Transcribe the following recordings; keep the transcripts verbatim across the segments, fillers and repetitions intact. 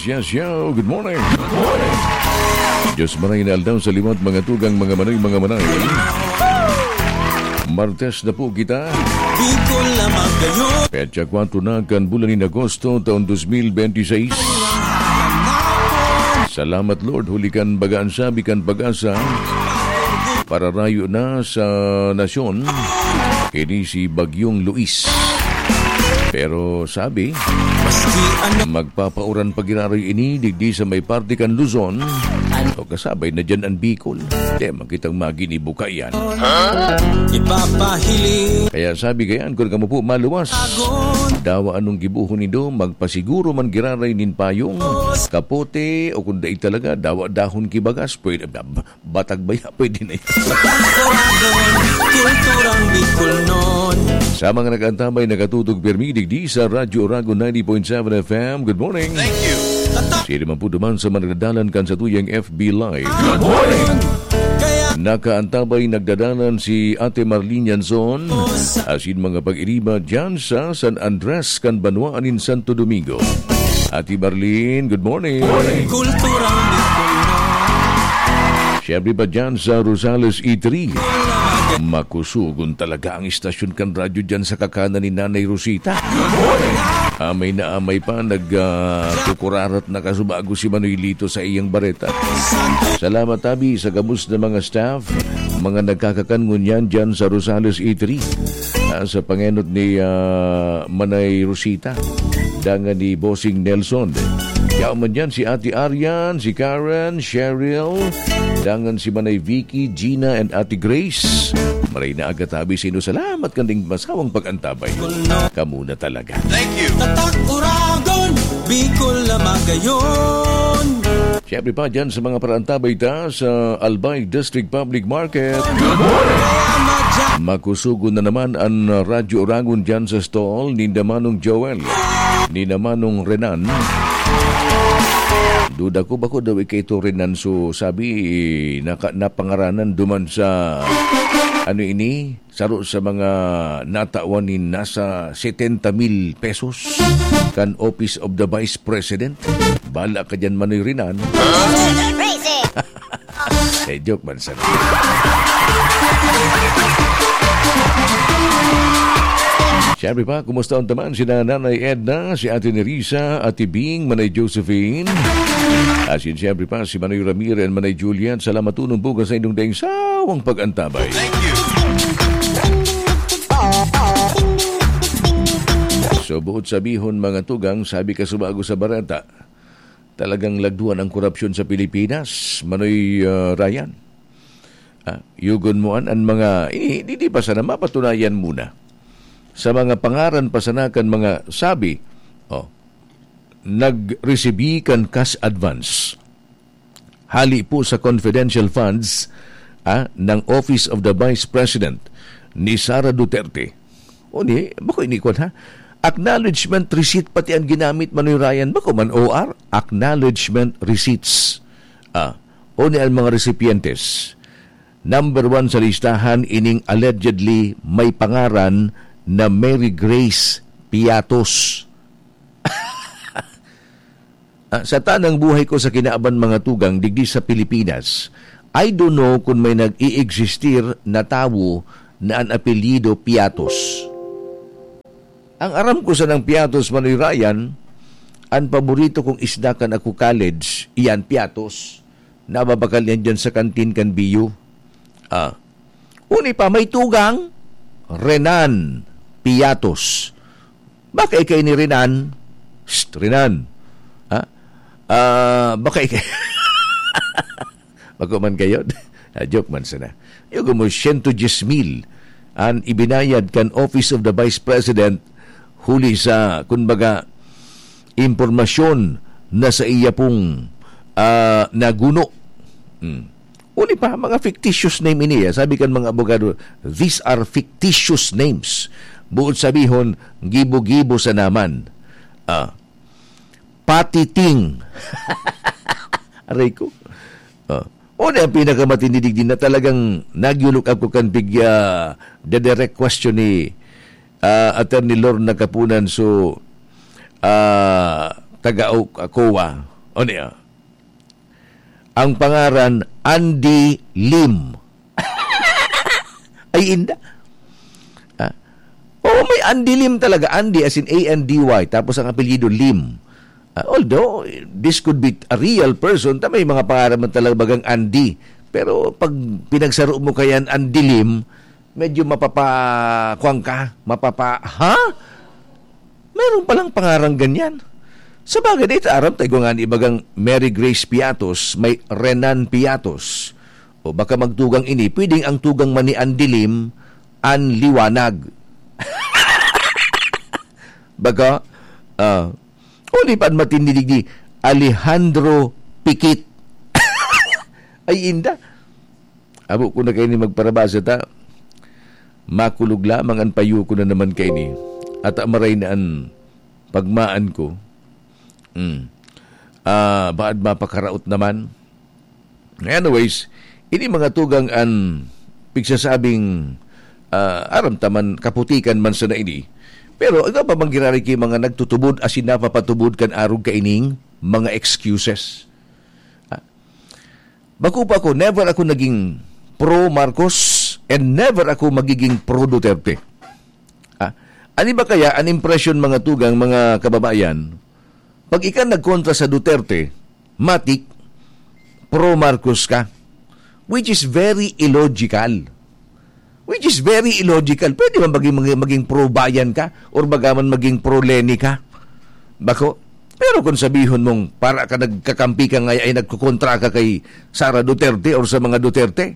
Yes, yo. Good morning. Good morning. Diyos maray na aldaw sa liwat, mga tugang, mga manay, mga manay. Martes na po kita. Bicol na magayon. Petsa kwatro na kan bulan nin Agosto, taon dos mil benti seis. Salamat, Lord, huli kan baga an sabi kan Pag-asa, pararayo na sa nasyon, ini si Bagyong Luis. Pero sabi, magpapauran pa giraray ini digdi sa may parte kan Luzon. O kasabay na diyan an Bicol. Di man kitang maginibo kaiyan. Ipapahiling. Kaya sabi kaiyan, kun kamo po maluwas, dawa anong gibohon nindo, magpasiguro man giraray nin payong, kapote, o kun dai talaga, dawa dahon ki bagas, pwede, batag baya, pwede na yan. Kulturang Bicolnon. Sa mga nag-antabay, nakatutok pirmi digdi sa Radyo Oragon ninety point seven F M. Good morning. Thank you. Sino man po duman sa mga nagdadalan kan satuyang F B Live. Good morning. Nakaantabay, nagdadalan si Ate Marlene Yanson, asin mga pag-iriba dyan sa San Andres kan banwaan nin Santo Domingo. Ate Marlene, good morning. Kulturang Bicolnon. Siyempre pa dyan sa Rosales E three. Makusugon talaga ang istasyon kan radyo dyan sa kakanan ni Nanay Rosita. Amay na amay pa, nag, ah, kukurarat na kasubago si Manoy Lito sa iyang bareta. Salamat, abi, sa gabos na mga staff, mga nagkakakan ngunyan dyan sa Rosales E three. Ah, sa pangenot ni, ah, Manay Rosita, dangan ni Bossing Nelson. Yaon man dyan si Ate Arian, si Karen, Cheryl, dangan si Manay Vicky, Gina, and Ate Grace. Maray na aga tabi sino. Salamat kanding masawang pag-antabay. Kamo na talaga. Thank you. Tatak Uragon, Bicol na magayon. Siyempre pa dyan sa mga parantabay ta sa Albay District Public Market. Makusugon na naman an Radyo Oragon dyan sa stall ni Manong Joel, ni Manong Renan. Duda ko, bako daw ika ito Renan. So, sabi, naka-, napangaranan duman sa, ano ini? Saro sa mga natawan nin nasa setenta mil pesos kan Office of the Vice President. Bala ka dyan, Manoy Renan. Crazy! Eh, joke man sana. Siyempre pa, kumusta ang taman si Nanay Edna, si Ate Nerissa, Ate Bing, Manay Josephine? Asin siyempre pa, si Manoy Ramir and Manay Julian. Salamat unong bukas sa inyong daing sawang pag-antabay. So, buot sabihon, mga tugang, sabi ka subago sa bareta, talagang lagduan ang korupsyon sa Pilipinas, Manoy, ah, Ryan. Ah, yugon mo an, an mga, ini, di, di pa sana mapatunayan muna sa mga pangaran pa sana kan mga sabi, oh, nag-resibi kan cash advance. Hali po sa confidential funds, ah, ng Office of the Vice President ni Sara Duterte. O ni, bako ini kwan, ha? Acknowledgement receipt pati ang ginamit, Manoy Ryan, bako man O R, acknowledgement receipts. Ah, o ni ang mga recipientes. Number one sa listahan ining allegedly may pangaran na Mary Grace Piatos. Ah, sa tanang buhay ko sa kinaban mga tugang digdi sa Pilipinas, I don't know kung may nag-i-existir na tawo na an apelyido Piatos. Ang aram ko sanang Piatos, Manoy Ryan, an paborito kong isda kan ako college, iyan Piatos. Nababakal yan dyan sa kantin kan B U. Ah. Uni pa, may tugang, Renan Piatos. Baka ikay ni Renan. Psst, Renan. Ha? Ah, baka ikay... Bako man kayo. Ah, joke man sana. Yugo mo, siyento diyes mil an ibinayad kan Office of the Vice President huli sa, kumbaga, impormasyon na sa iya pong, ah, naguno. Hmm. Uli pa, mga fictitious name ini, ah. Sabi kan mga abogado, "These are fictitious names." Buot sabihon, gibo-gibo sa naman. Ah, patiting. Aray ko. Ah. O na ang pinakamatindi digdi na talagang nagyulok ako kan bigya the direct question ni, ah, Attorney Lorna Kapunan. So, ah, taga O-, COA. O niya, ang pangaran, Andy Lim. Ay, inda. Ah, oo, may Andy Lim talaga. Andy as in A N D Y, tapos ang apelyido Lim. Ah, although, this could be a real person, ta may mga pangaran man talaga bagang Andy. Pero pag pinagsaro mo kayan Andy Lim, medyo mapapa-, kuwan ka, mapapa-, ha? Meron palang pangaran ganyan. Sa bagay, dito aram tayo nga ni ibagang Mary Grace Piatos, may Renan Piatos. O baka magtugang ini, pwedeng ang tugang man ni Andy Lim, An Liwanag. Baka, ah, o di pa matindi digdi, Alejandro Pikit. Ay, inda. Abo ko na kaini magparabasa ta. Makulog lamang an payo ko na naman kaini. At amaray na an pagmaan ko. Hmm. Ah, baad mapakaraot naman. Anyways, ini mga tugang an pigsasabing, ah, aram ta man, kaputikan man sana ini. Pero ano pa man giraray ki mga nagtutubod asin napapatubod kan arog kaining mga excuses? Ah, bako pa ako, never ako naging pro Marcos and never ako magiging pro Duterte. Ah, ano ba kaya an impresyon, mga tugang, mga kababayan? Pag ika nagkontra sa Duterte, matik, pro Marcos ka. Which is very illogical. Which is very illogical. Pwede man maging, maging, maging pro Bayan ka or baga man maging pro Leni ka. Bako. Pero kung sabihon mong para ka nagkakampi ka ngayon ay nagkukontra ka kay Sara Duterte or sa mga Duterte,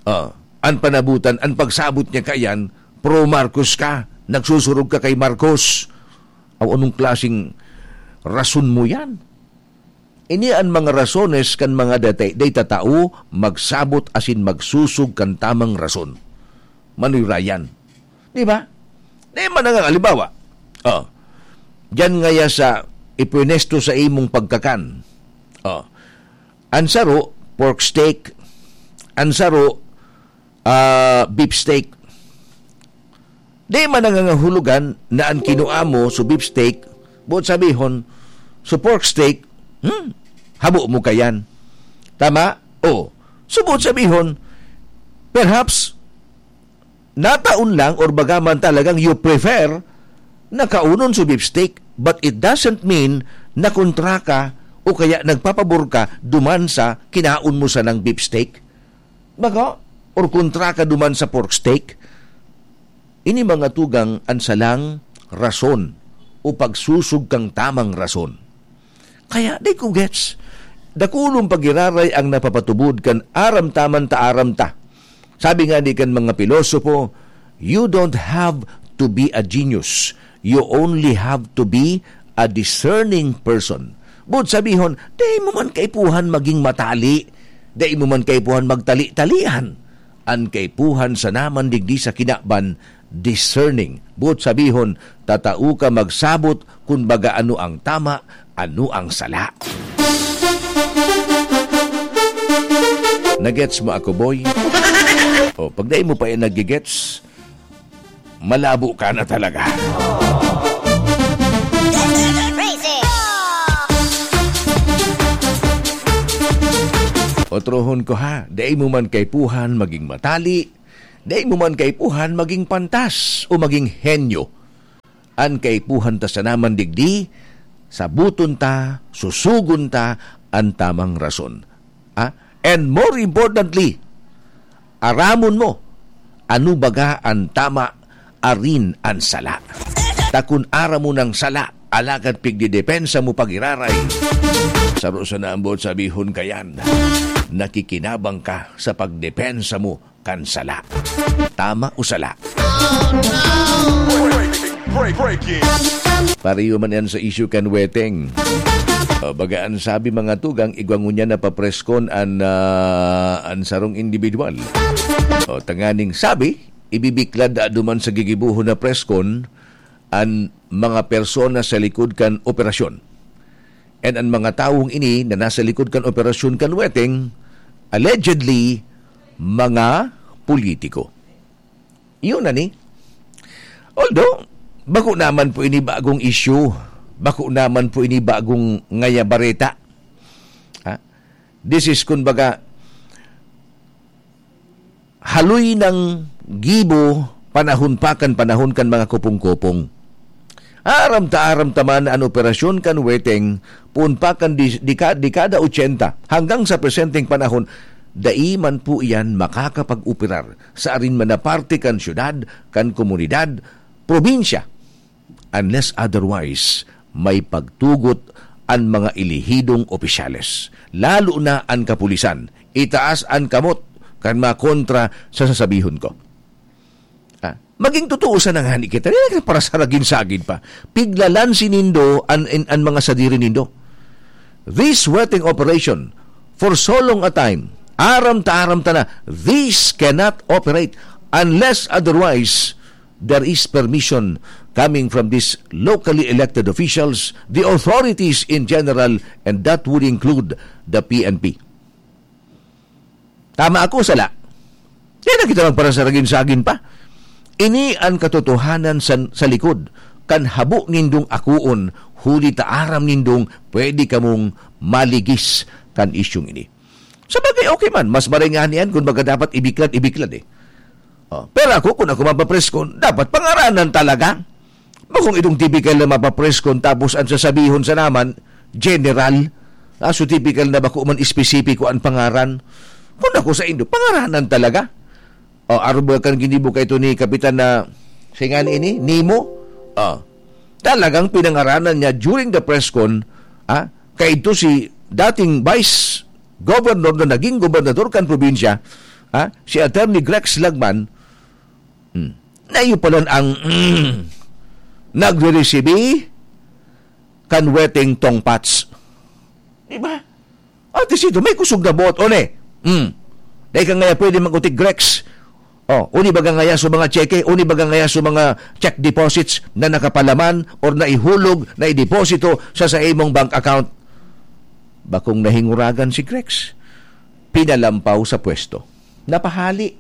ah, an panabutan, an pagsabot niya kayan, pro Marcos ka, nagsusurog ka kay Marcos. Aw, anong klaseng rason mo yan? Ini an mga rasones kan mga dati-, daytatao magsabot asin magsusog kan tamang rason. Manoy Ryan. Di ba? Di man nga, halimbawa, oh, diyan ngaya sa ipwenesto sa imong pagkakan. Oh, an saro, pork steak. An saro, ah, beef steak. Di man nangangahulugan na an kinua mo so beef steak, buot sabihon, so pork steak, hmm, habo mo kayan. Tama? O. So, buot sabihon, perhaps, nataon lang or baga man talagang you prefer na kaunon so beef steak, but it doesn't mean na kontra ka o kaya nagpapabor ka duman sa kinaon mo sanang beef steak. Baga, or kontra ka duman sa pork steak, ini mga tugang an salang rason o pagsusog kang tamang rason. Kaya, di ko gets. Dakulong pagiraray ang napapatubod kan aram ta man ta aram ta. Sabi nga di kan mga pilosopo, "You don't have to be a genius. You only have to be a discerning person." Buot sabihon, dai mo man kaipuhan maging matali. Dai mo man kaipuhan magtali-talian. An kaipuhan sana man digdi sa kinaban, discerning. Buot sabihon, tatao ka magsabot kun baga ano ang tama, ano ang sala. Nagets mo ako, boy? O, pag dai mo pa yan nagigets, malabo ka na talaga. Otrohon ko ha, dai mo man kaipuhan maging matali, dai mo man kaipuhan maging pantas o maging henyo. An kaipuhan ta sana man digdi, sabuton ta, susugon ta an tamang rason. Ah, and more importantly, aramon mo ano baga an tama, arin an sala. Ta kun aram mo nang sala, alagad pigdedepensa mo pagiraray, saro sana an buot sabihon kayan, nakikinabang ka sa pagdepensa mo kan sala. Tama o sala? Break, break, breaking. Pareho man yan sa isyu kan Weteng. O, baga an sabi, mga tugang, igwa ngunyan na papreskon an, ah, an sarong individual. O, tanganing sabi, ibibiklad da duman sa gigibohon na preskon an mga persona sa likod kan operasyon. And an mga tawong ini na nasa likod kan operasyon kan Weteng, allegedly, mga politiko. Yun na ni. Although, bako naman po ini bagong issue. Bako naman po ini bagong ngaya bareta. Ha? This is, kumbaga, haloy nang gibo panahon pa kan panahon kan mga Kopong-Kopong. Aram ta, aram ta man an operasyon kan Weteng, poon pa kan di-, deka-, dekada ochenta hanggang sa presenteng panahon, dai man po iyan makakapag-operar sa arin man na parte kan syudad, kan komunidad, probinsya, unless otherwise may pagtugot an mga elehidong opisyales, lalo na an kapulisan. Itaas an kamot kan mga kontra sa sasabihon ko. Ah, maging totoo sana ngani kita. Dili na para sa ragin-sagin pa. Piglalansi nindo an, an, an mga sadiri nindo. This Weteng operation, for so long a time, aram ta, aram ta na, this cannot operate unless otherwise there is permission coming from these locally elected officials, the authorities in general, and that would include the P N P. Tama ako, sala? Di na kita magparasaragin-sagin pa. Ini an katotohanan sa, sa likod kan habo nindong akoon, huli ta aram nindong pwede kamong maligis kan isyung ini. Sa bagay, okay man, mas maray ngani yan, kun baga dapat ibiklad, ibiklad eh. Oh, pero ako, kun ako mapapreskon, dapat pangaranan talaga. Bakong itong tipikal na mapapreskon, tapos ang sasabihon sa naman, general. Ah, so tipikal na bako man espesipiko ang pangaran. Kun ako sa indo, pangaranan talaga. O, arog ba kan ginibo kay ito ni Kapitan na, siya nga ni ini, Nemo? Ah, talagang pinangaranan niya during the press con, ah, kay ito si dating vice governor na naging gobernador kan probinsya, ah, si Attorney Grex Lagman, hmm, na iyo pala ang, mm, nagre-resibi kan Weteng Tongpats. Di ba? At least ito, may kusog na boot, o ne? Hmm. Dahil ka ngaya pwede mag-utik, Grex. O, uni baga ngaya sa mga tseke, uni baga ngaya sa mga check deposits na nakapalaman or naihulog, naideposito sa, sa imong bank account. Bakong nahinguragan si Grex. Pinalampaw sa pwesto. Napahali.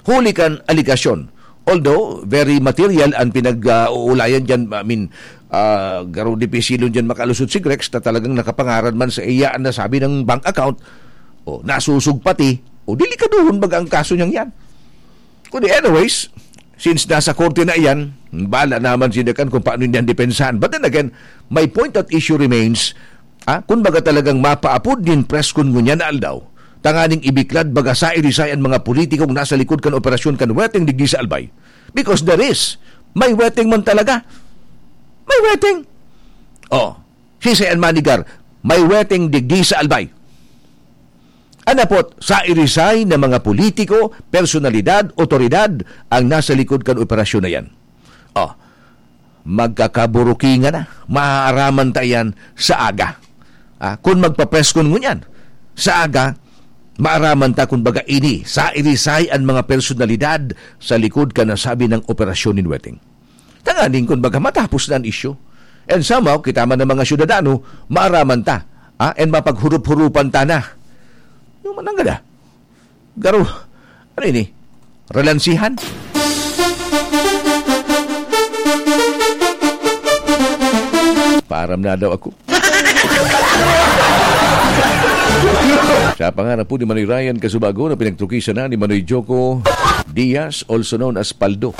Huli kan aligasyon. Although, very material ang pinag-uulayan dyan, I mean, ah, garo dipisilon dyan makalusot si Grex na talagang nakapangaran man sa iya ang nasabi ng bank account, o nasusog pati, o delikaduhon baga ang kaso niyang yan. Kundi anyways, since nasa korte na iyan, bala naman si Dekan kung paano niyan depensahan. But then again, my point at issue remains, ah, kun baga talagang mapaapod nin press con ngunyan na aldaw, tanganing ibiklad baga sa irisay an mga politikong nasa likod kan operasyon kan Weteng digdi sa Albay. Because there is. May Weteng man talaga. May Weteng. Oh, si Sayan Manigar, may Weteng digdi sa Albay. Anapot, sa irisay na mga politiko, personalidad, otoridad ang nasa likod kan operasyon na yan. Oh, magkakaburukingan na. Maaaraman ta yan sa aga. Ah, kun magpapreskon ngunyan, sa aga, maaraman ta kun baga ini, sa irisay an mga personalidad sa likod kan nasabi nang operasyon nin Weteng. Tanganing kun baga matapos na an isyu. And somehow, kita man ang mga syudadano, maaraman ta. Ah, and mapaghurup-hurupan ta na. Yung mananggada. Garo, ano ini? Relansihan? Paaram na daw ako. Sa pangarap po ni Manoy Ryan Kasubago na pinagtukisan na ni Manoy Joko Diaz, also known as Paldo.